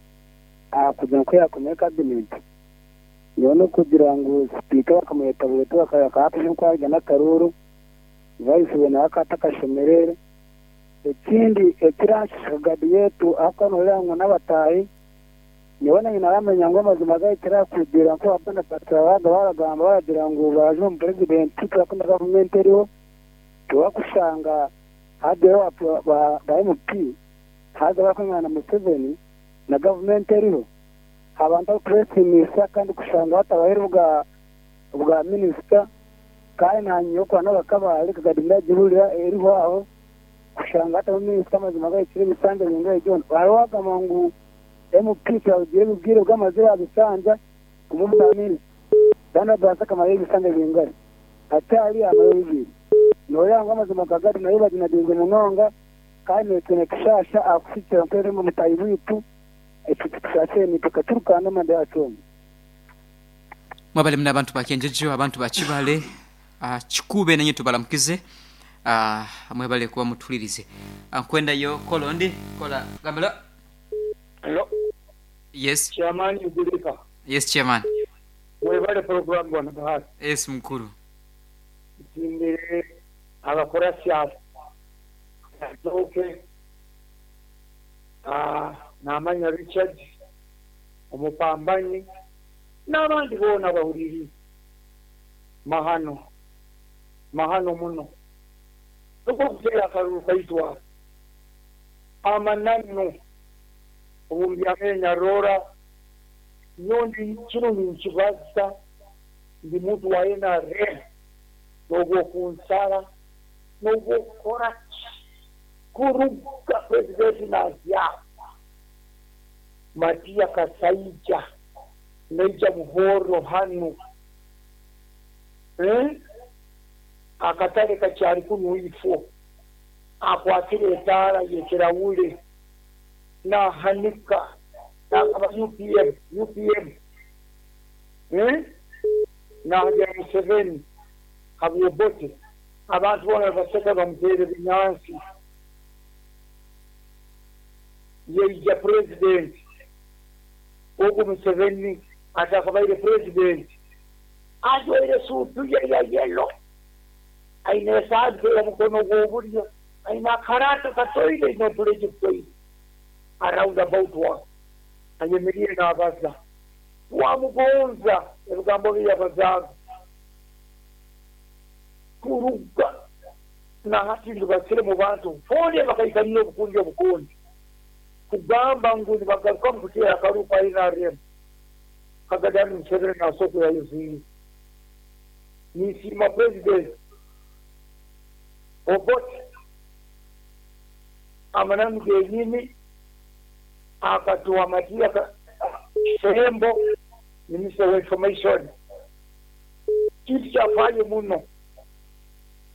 ahakugira ngu kuyakomire kabineti nyowe nokugira ngu sipiika bakamweta bweta bakahapusha nkwarya n'akaruuru vayisi we nawe akaba atakashomerere ekindi ekiranshusha gadi yetu ahakuba noreeba ngu n'abataahi nyowe nanye naramanya ngu amazima gahikire ahakugira nku abana baga baragamba baragira ngu baraje omu purezidenti turakunda gavumenti eriho tiwakushanga hagireho ba MP haza barakwingana na Museveni na gavumenti eriho abantu abakubeesiimisa kandi kushanga batabahaire obwa obwa minisita kandi nanye okuba n'abakabaare kagadi ndagihurira eriho aho kushanga hataho minisita amazima gahikire ebisanja bingahe byona hariho owagamba ngu MP turabugire ebibwire bw'amazire aha bisanja kumubuza minisita kandi abaasa akamarayo ebisanja bingari hati hari amarayo bibiri noreeba ngu amazima gagadi nayo baginagirize munonga kandi naitwe nitushasha ahakuhikira nk'eri mutahi waitu ekyo titushashire naitwe katurukana amanda yacu omu. Mwebale muno abantu ba Kyenjojo, abantu ba Kibale, Kikuube nanye tubalamukize. Mwebale kuba mutuhulirize. Nkwendayo kola ondi, kola gambelo. Hello. Yes. Chairman Igulika. Yes chairman. Webale program bwana Bahati. Yes mukuru. Nsiimire abakurasi abo Azooke, Namanya Richard, Omupambanyi n'abandi boona abahuriirize. Mahano, mahano muno. Nikwo kuteera akaruru kaitu ako. Amananu obu mbyamire nyarora, nyowe ndi kinu ninkibaza, ndi muntu wa nrm, n'obw'okunsara, n'obw'okukora ki, kuruga Purezidenti naazyaho, Matia Kasaija naija Buhoro hanu, akatare kakyari kunu ifo, akwatire etaara y'ekirahuri nahanika nagamba UPM, UPM, nahagira Museveni habw'Obote, abantu boona nibaseka nibamuteera ebinyansi. Yaija Purezidenti, ogu Museveni atakabaire Purezidenti, ajwaire esuutu ye ya yellow, aine esaati ey'omukono gw'oburyo, aine akaraata katoire n'otureju tutoire around about wa ayemeriire naabaza. Twamugonza ebigambo bi yabazaaga. Kuruga na hati ndibasire mu bantu boona bakaikanire obukundi obukundi kugamba ngu nibagarukamu kuteera akaruuru ka nrm Kagame Museveni naasobola kuyayoziire. Ninsiima Purezidenti Obote amananu genyini akatuha Matia Kisembo Minisita wa Information. Kintu kyafayo muno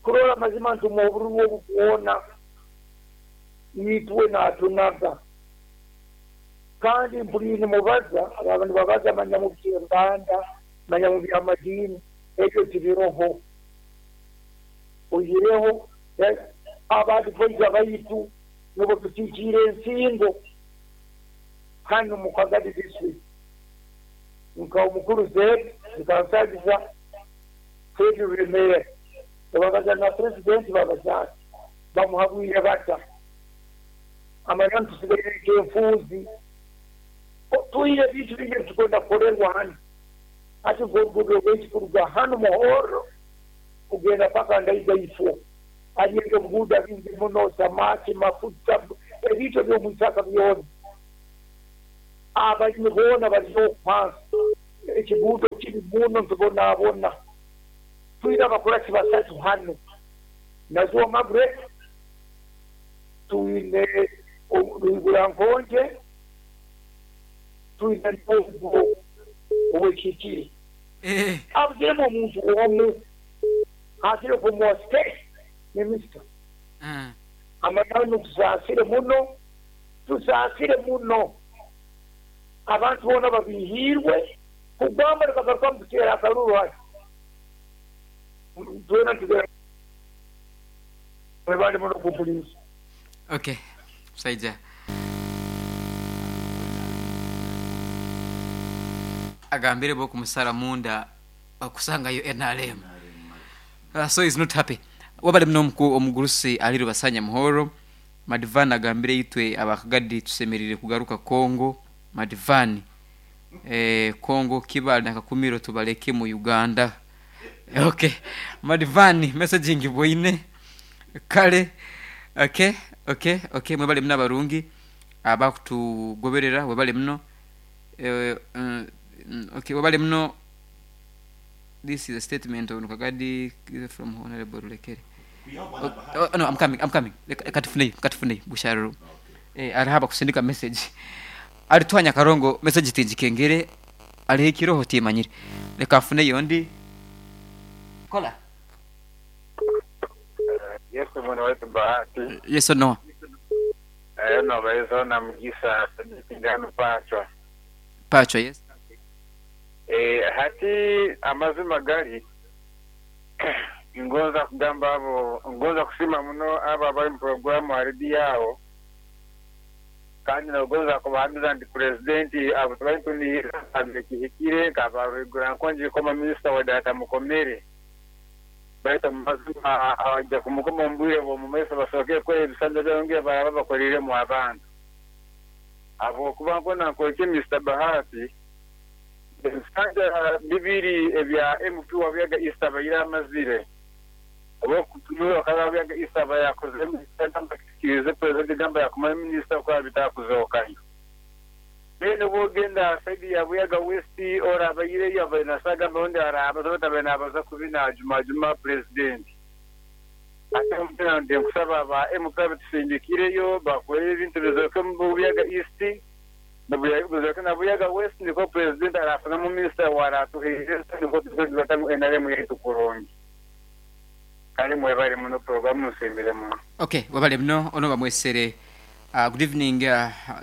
kurora amazima ntumuha obururu obu bwona itwe natunaga. Kandi mpuriire nimubaza abaaba nibabaza manya mu by'enganda, manya mu by'amadiini, ebyo tibiroho. Oihireho aba advisor baitu nibo tukiikiire ensingo hanu mu Kagadi district nka omukuru Zed Nkansagiza, Fred Ruremera. Nibabaza na Purezidenti babaza ati, Bamuhabwire bata? Amananu tusigaire nk'enfuuzi. Twine ebintu bingi ebi turikwenda kukorerwa hanu. Hati nk'oruguudo rwaitu kuruga hanu Muhorro kugenda paka Ndaiga ifo, hariyo eby'obuguuda bingi muno, samaki, mafuta, ebintu eby'omu itaka byona. Abalimi boona bari oku hansi. Ekiguudo kibi muno nitubonabona. Twine abakurasi basatu hanu, Nazuwa Margaret, twine Rwigura Nkonje, twine n'ogwo ow'Ekihikire. Abuziremu omuntu omu, haakire kumuha state minister. Amananu tusaasire muno, tusaasire muno. Abantu boona babiihiirwe kugamba nibagarukamu kuteera akaruru hati. Twena nitugira mwebale muno kumpuriiriza. Okay, musaija agambire bo kumusara munda okusangayo NRM. So he's not happy. Wabale muno omugurusi ali Rubasanya Muhoro. Madivani agambire itwe abakagadi tusemerire kugaruka Congo. Madivani eh, Congo Kibale na Kakumiro tubaleke mu Uganda. Okay. Madivani message ngibwoine. Kale okay, okay, okay mwebale muno abarungi abakutugoberera webale muno. Eh, okay, webale muno. This is a statement on Kagadi from Honorable Rulekere. Oh, no, I'm coming, I'm coming. Leka tufuneyo, leka tufuneyo busharuru. Eh, ariho abakusindika message. Ari twanya karongo message tingikengere ariho ekiroho timanyire. Leka nfuneyo ondi. Kola. Yesu mwana waitu Bahati. Yes or no? No baizo na Mugisa Sadiki ndi Pachwa. Pachwa, yes. Hati amazima gari ngonza kugamba abo, ngonza kusiima muno abo abari omu puroguraamu aha rediyo aho, kandi nogonza kubahamiza nti Purezidenti abo tubari nitunihirira ngu kihikire nka ba Rwigura-Nkongi kukoma minisita wa data Mukomere. Baitu omu mazima abaija kumukoma omu bwire bw'omu maiso basookere kukora ebisanja byabo baraba bakoreiremu abantu. Ahabw'okuba nkona nkorekye Mister Bahati, Ebisanja bibiri ebya MP wa Buyaga East abaire amazire oba okutumirwa bakaba Buyaga East aba yakozire minisita gamba kikirize Purezidenti gamba yakumara minisita kuba bitakuzokayo. Then obu ogenda aha sayidi ya Buyaga West ora abaireyo abaire nasa gamba ondi arabaza baitu abaire nabaza kubi najumajuma Purezidenti. Ate mbwenu ninkusaba ba MP abatusindikireyo bakore ebintu bizoke omu Buyaga East. Buzooka na Buyaga West nikwo Purezidenti araafunamu minisita owaaraatuheereza nikwo tuze nitureeta ngu nrm yaitu kurungi. Kare mwebare muno puroguramu nsiimire muno. Ok webale muno ono bamwesere Good evening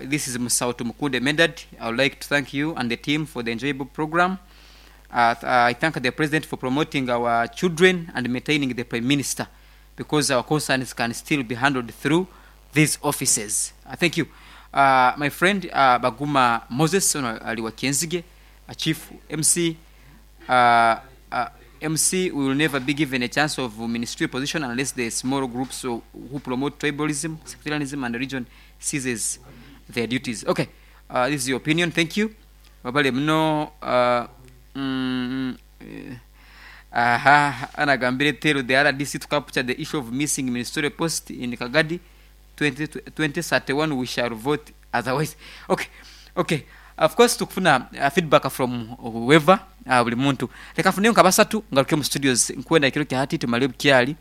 this is Musawo Tumukunde Medard I would like to thank you and the team for the enjoyable program I thank the president for promoting our children and maintaining the prime minister because our concerns can still be handled through these offices thank you my friend Baguma Moses ono ali wa Kyenzige chief MC MC we will never be given a chance of ministerial position unless the small groups who promote tribalism, sectarianism and religion ceases their duties. Okay, this is your opinion, thank you. Wabale muno aha anagambire tell the RDC to capture the issue of missing ministerial post in Kagadi 2031 we shall vote otherwise. Okay, okay. Of course tukufuna feedback from whoever buli muntu. Leka nfuneyo nka basatu ngaruke mu studios nkwenda ekiro kya hati tumale obukyali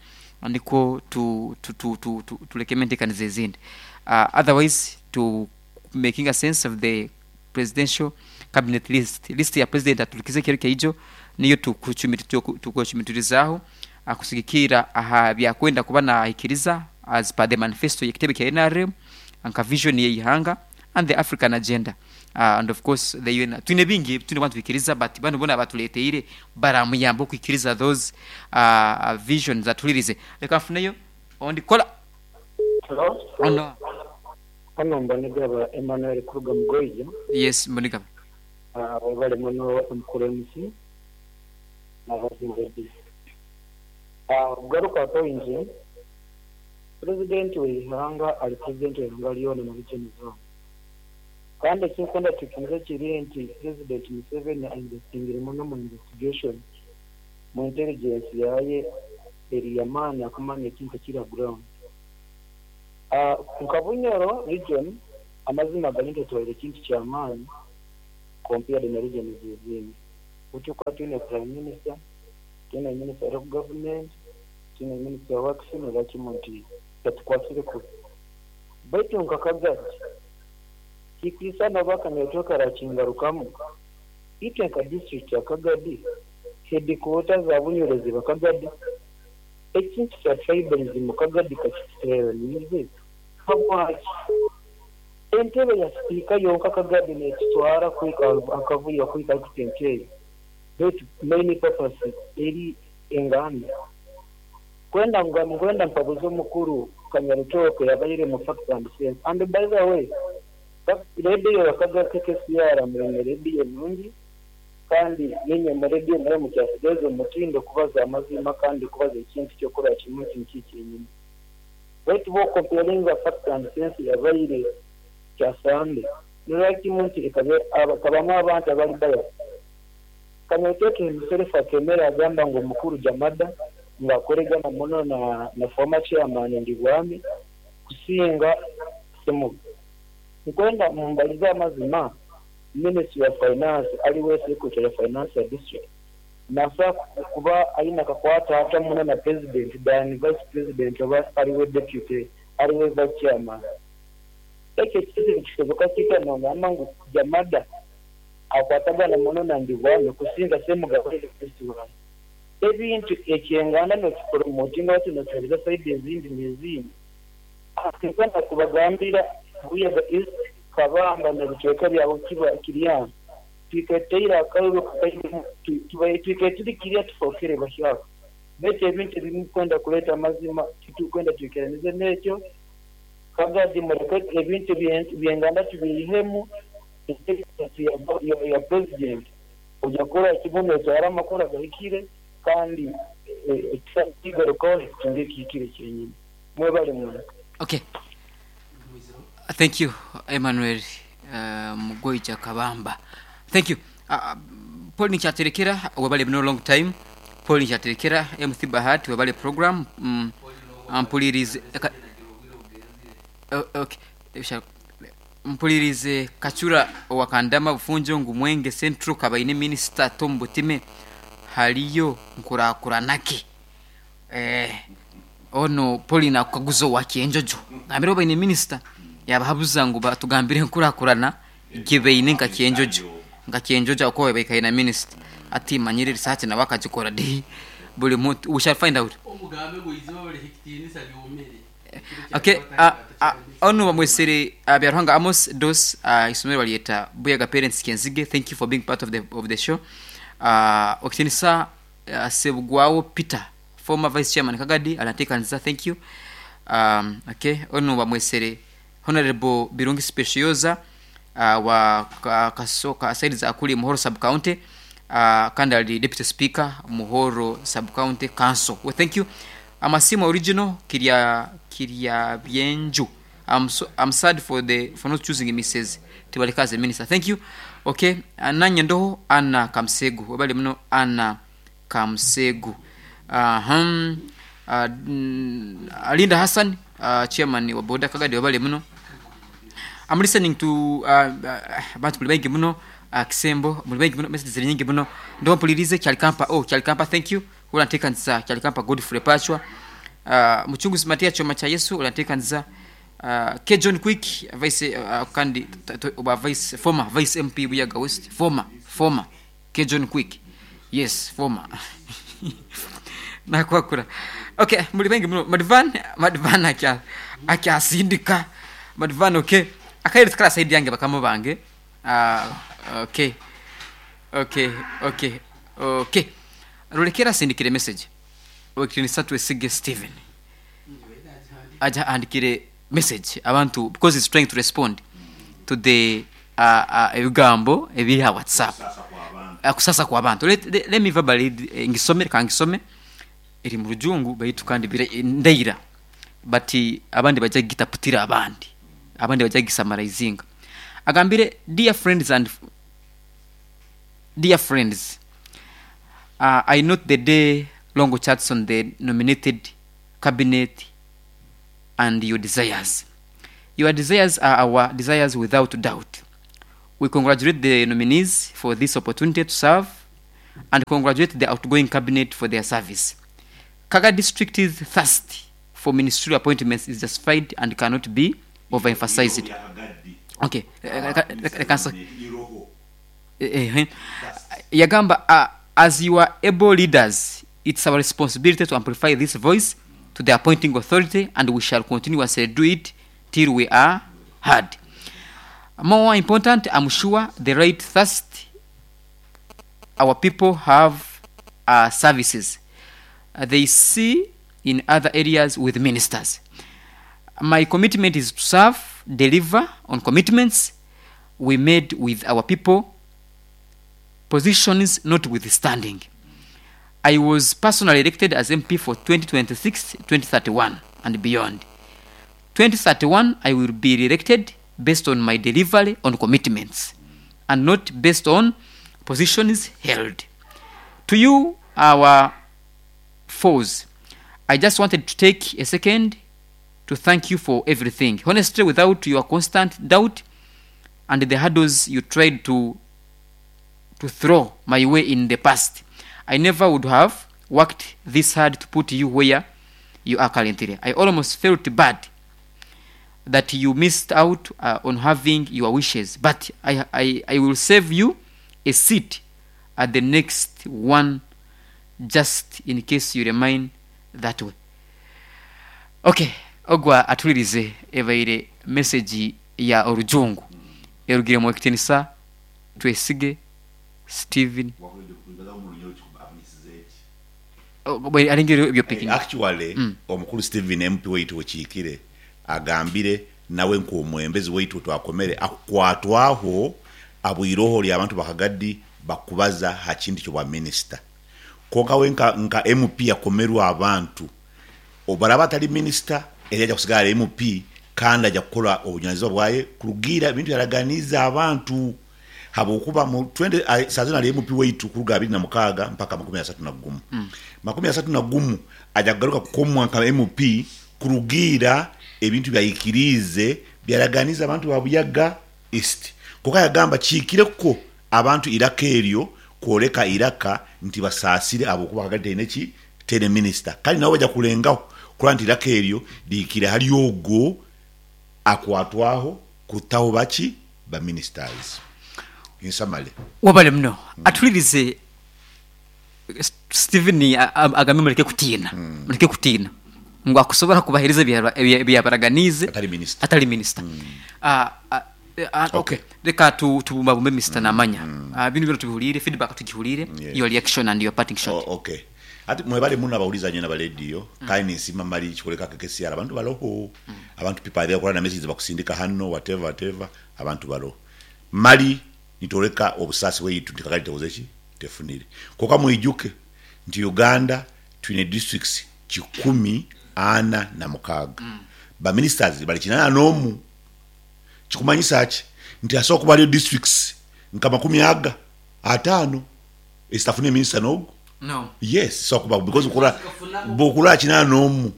nikwo tu tu tu tu tu tulekemu entekaniza ezindi. Otherwise tu makinga sense of the presidential cabinet list. List ya president aturikize ekiro kyaijo niyo tukwecumitirizaaho kusigikirra aha byakwenda kuba nahikiriza as per the manifesto y'ekitebe kya nrm nka vision y'eihanga and the African agenda and of course the UN. Twine bingi ebi twine kuba nituhikiriza but banu boona abatureeteire baramuyamba okuhikiriza those visions atuhuririze. Leka nfuneyo ondi kola. Hello. Ono. Hano Mbonigaba Emmanuel kuruga Mugoija. Yes Mbonigaba. Webale muno Mukuru MC na Housing Ladies. Kugaruka aha pointi, Purezidenti w'eihanga ari Purezidenti w'eihanga ryona na region zoona. Kandi ekinkwenda twikirize kiri nti Purezidenti Museveni a investingire muno omu investigation, mu intelligence yaaye eri y'amaani akumanya ekintu ekiri aha ground. Nka Bunyoro region amazima gari nti etwaire ekintu ky'amaani compared na regions ezindi. Butyo kuba twine Prime Minister, twine Minister of Government, twine Minister wa Works noreeba kimwe nti etukwatsire kubi. Baitu nka Kagadi, tikwisana oba akanyeto karakingarukamu, itwe nka district ya Kagadi, headquarter za Bunyoro ziba Kagadi, ekintu kya tribalism Kagadi kakituteraniize habwaki? Entebe ya sipiika yonka Kagadi nekitwara kuhika akavuyo kuhika ahari Baitu main purpose eri enganda. Kwenda ngu nkwenda mpabuze omukuru Kanyarutooke yabaire mu facts and sense and by the way radio ya KKCR mwine radio nungi kandi ninye mu radio nayo mukyasigaza omutindo kubaza amazima kandi kubaza ekintu kyokurora kimwe nti niki kyenyini. Baitu bwo comparinga facts and sense yabaire kyasande norora kimwe nti ekabamu abantu abari biased. Kanyarutooke himself akemera yagamba ngu omukuru Jamada ngu akoregana muno na former chairman Ndibwami kusinga Semuga. Nkwenda mumbarize amazima, Ministry ya Finance ariwe Secretary Finance ya district nasobola kuba aine akakwate ata muno na President than Vice President oba ariwe Deputy ariwe Vice Chairman. Ekyo ekintu nikisoboka kita nogamba ngu Jamada akwatagana muno na Ndibwami kusinga Semuga Vice Wange. Ebintu ekyenganda nokipromotinga oti nokihereza side ezindi nezindi. Tinkwenda kubagambira Buyaga East, Kabamba nebicweka byaho Kiryanga twiketeire akaruru twikaire turi kirya tufokere bahyaka baitu ebintu ebimu kwenda kureta amazima titukwenda twikiranize nekyo. Kagadi mureke ebintu byenganda tubiihemu intelligence ya president oja kukora kimwe notwara amakuru agahikire kandi ekigarukaho nikitunga ekihikire kyenyini. Mwebale muno. Okay. Thank you Emmanuel Mugoija Kabamba. Thank you. Paul Nikyaterekera webale muno long time. Paul Nikyaterekera MC Bahati webale program. Mpulirize okay. Mpulirize Kachura owakandama Bufunjo ngu Mwenge Central kabaine minister Tom Butime haliyo nkurakuranaki. Ono Paulina akukaguza owa Kyenjojo gambire obaine minister yabahabuza ngu batugambire nkurakurana gye baine nka Kyenjojo nka Kyenjojo akowe baikaine na minister ati manyire research nawe akagikora di buri muntu we shall find out. Omugambe ngu eiziba bariha ekitiinisa ryomire. Okay, ono bamwesere Byaruhanga Amos Dos, isomero baryeta Buyaga Parents Kenzige. Thank you for being part of the show. Okitinisa Sebugwawo Peter, former vice chairman Kagadi anatekanisa. Thank you. Okay, ono bamwesere Honorable Birungi Specioza wa Kasoka side za kuli Muhoro sub county, kandi ali deputy speaker Muhoro sub county council. Well, thank you. Amasimu original Kiria Byenju. I'm sad for not choosing Mrs. Tibaleka as a minister. Thank you. Okay, nanye ndoho Anna Kamsegu. Wabali muno Anna Kamsegu. Linda Hassan, chairman wa Boda Kagadi wabali muno. I'm listening to abantu muli baingi muno, Kisembo muli baingi muno, messages ziri nyingi muno. Ndo mpulirize Kyalikampa. Oh, Kyalikampa, thank you. Ulantekanisa Kyalikampa Godfrey Pachwa. Muchunguzi Matia Choma cha Yesu ulantekanisa. K John Quick vice kandi oba vice former vice MP Buyaga West, former K John Quick. Yes, former. Nakwakura. Okay, muli baingi muno. Madvan akyasindika. Madvan, okay. Akairi tukala side yange bakama bange. Okay. Okay, okay. Okay. Rulekera sindikire message. Okirinisa Twesige Steven. Aja andikire message abantu because he's trying to respond to the ebigambo ebiri ha WhatsApp. Kusasa kwa abantu. Let me verbally ngisome, reka ngisome. Eri mu Rujungu baitu kandi ndaira but abandi baija kugitaputira abandi, abandi baija kugisamaraizinga. Agambire, Dear friends and Dear friends, I note the day long chats on the nominated cabinet and your desires. Your desires are our desires without doubt. We congratulate the nominees for this opportunity to serve and congratulate the outgoing cabinet for their service. Kaga district's thirst for ministerial appointments is justified and cannot be overemphasized. Okay, reka nso- Yagamba, as your able leaders, it's our responsibility to amplify this voice to the appointing authority and we shall continuously do it till we are heard. More important, I'm sure the right thirst our people have are services they see in other areas with ministers. My commitment is to serve, deliver on commitments we made with our people, positions notwithstanding. I was personally elected as MP for 2026, 2031 and beyond. 2031, I will be re-elected based on my delivery on commitments and not based on positions held. To you, our foes, I just wanted to take a second to thank you for everything. Honestly, without your constant doubt and the hurdles you tried to to throw my way in the past, I never would have worked this hard to put you where you are currently. I almost felt bad that you missed out on having your wishes, but I, I, I will save you a seat at the next one just in case you remain that way. Okay, ogwa atuhuririze ebaire message ya orujungu erugire mu ekitinisa Twesige Steven. Actually omukulu Steven MP waitu okiikire agambire nawe nk'omwembezi waitu otwakomere akukwatwaho abwire oho rya abantu bakagadi bakubaza ha kintu ky'obwa minisita. Kwonka we nka nka MP yakomerwe abantu obu araba atari minisita eri aja kusigara ari MP kandi aja kukora obujunanizibwa bwaye kurugiira ebintu yaraganiize abantu habwokuba mu twente saaha zinu ari MP waitu kuruga 26 mpaka 31. 31 aja kugaruka kukomwa nka MP kurugiira ebintu ebi yaikiriize byaraganiize abantu ba Buyaga East. Kwonka yagamba kihikire kwo abantu eiraka eryo kworeka eiraka nti basaasire ahabw'okuba Kagadi teine ki? Teine minisita. Kandi nabo baija kurengaho kurora nti eiraka eryo rihikire ahari ogwo akwatwaho kutaho baki? Ba ministers. In summary. Webale muno. Atuhuririze Steven agambe mureke kutiina, mureke kutiina ngu akusobora kubahereza ebi yabaraganiize Atari minisita. atari minisita. Okay, reka tubumbabumbe Mister Namanya. Binu byona tubihuriire, feedback tugihuriire, your reaction and your parting shot. Okay. Hati mwebale muno abahuriza nyowe naba rediyo kandi ninsiima mali ekikoreka KKCR abantu baroho abantu people are there okora na messages bakusindika hano whatever whatever abantu baroho mali nitworeka obusaasi bwaitu nti Kagadi tekoze ki tefunire kwonka mwijuke nti Uganda twine districts 146 ba ministers bari 81 Kikumanyisa ki? Nti hasobola kuba hariyo districts nka makumi aga ataano ezitafunire minisita n'ogu? No. Yes, zisobola kubaho because bwokurora bwokurora 81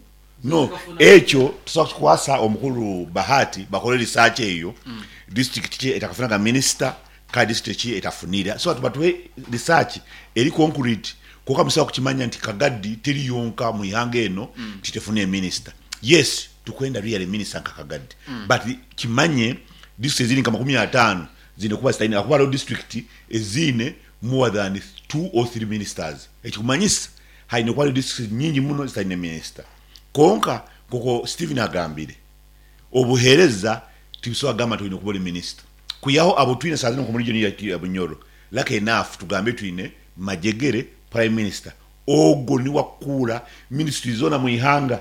no ekyo tusobola kukikwasa omukuru Bahati bakore research eyo district ki etakafunaga minisita kandi district ki etafunire so that batuhe research eri concrete kwonka musobola kukimanya nti Kagadi teri yonka omu ihanga eno nti tefunire minisita. Yes Tukwenda really minister nka Kagadi but kimanye district eziri nka 50 ziine kuba zitaine ahakuba hariho district eziine more than 2 or 3 ministers ekikumanyisa haine kuba hariho districts nyingi muno zitaine minister kwonka nkoku Steven agambire obuhereza tibusobola kugamba nti oine kuba ori minister kwihaho abu twine saha zinu nka omu region yaitu ya Bunyoro lucky enough tugambe twine Majegere prime minister ogwo niwe akukuura ministry zoona mwihanga.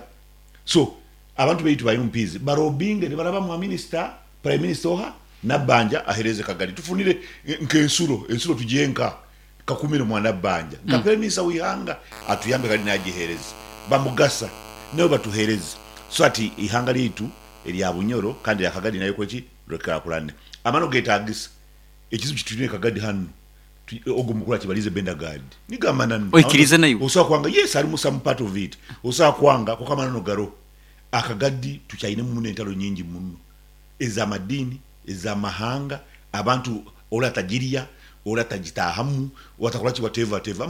So abantu baitu ba MPs barobinge nibaraba mwa minister, prime minister oha Nabbanja ahereze Kagadi tufunire nk'ensuro, ensuro tugihe nka? Kakumire mwana Banja nka Prime Minister w'eihanga atuyambe kandi nagihereza bamugasa nabo batuhereze so that eihanga ryaitu erya Bunyoro kandi erya Kagadi naryo rikore ki? Rikurakurane. Amani ogetagisa ekizibu kitwine Kagadi hanu ogu omukuru akibarize Bendagard nigo amananu. Oikirize naiwe? Osobola kwanga yes harimu some part of it osobola kwanga kwonka amananu garoho. Akagadi tukyainemu muno entaro nyingi muno ez'amadiini, ez'amahanga, abantu ori atagirya, ori atagitaahamu, ori atakora ki whatever whatever.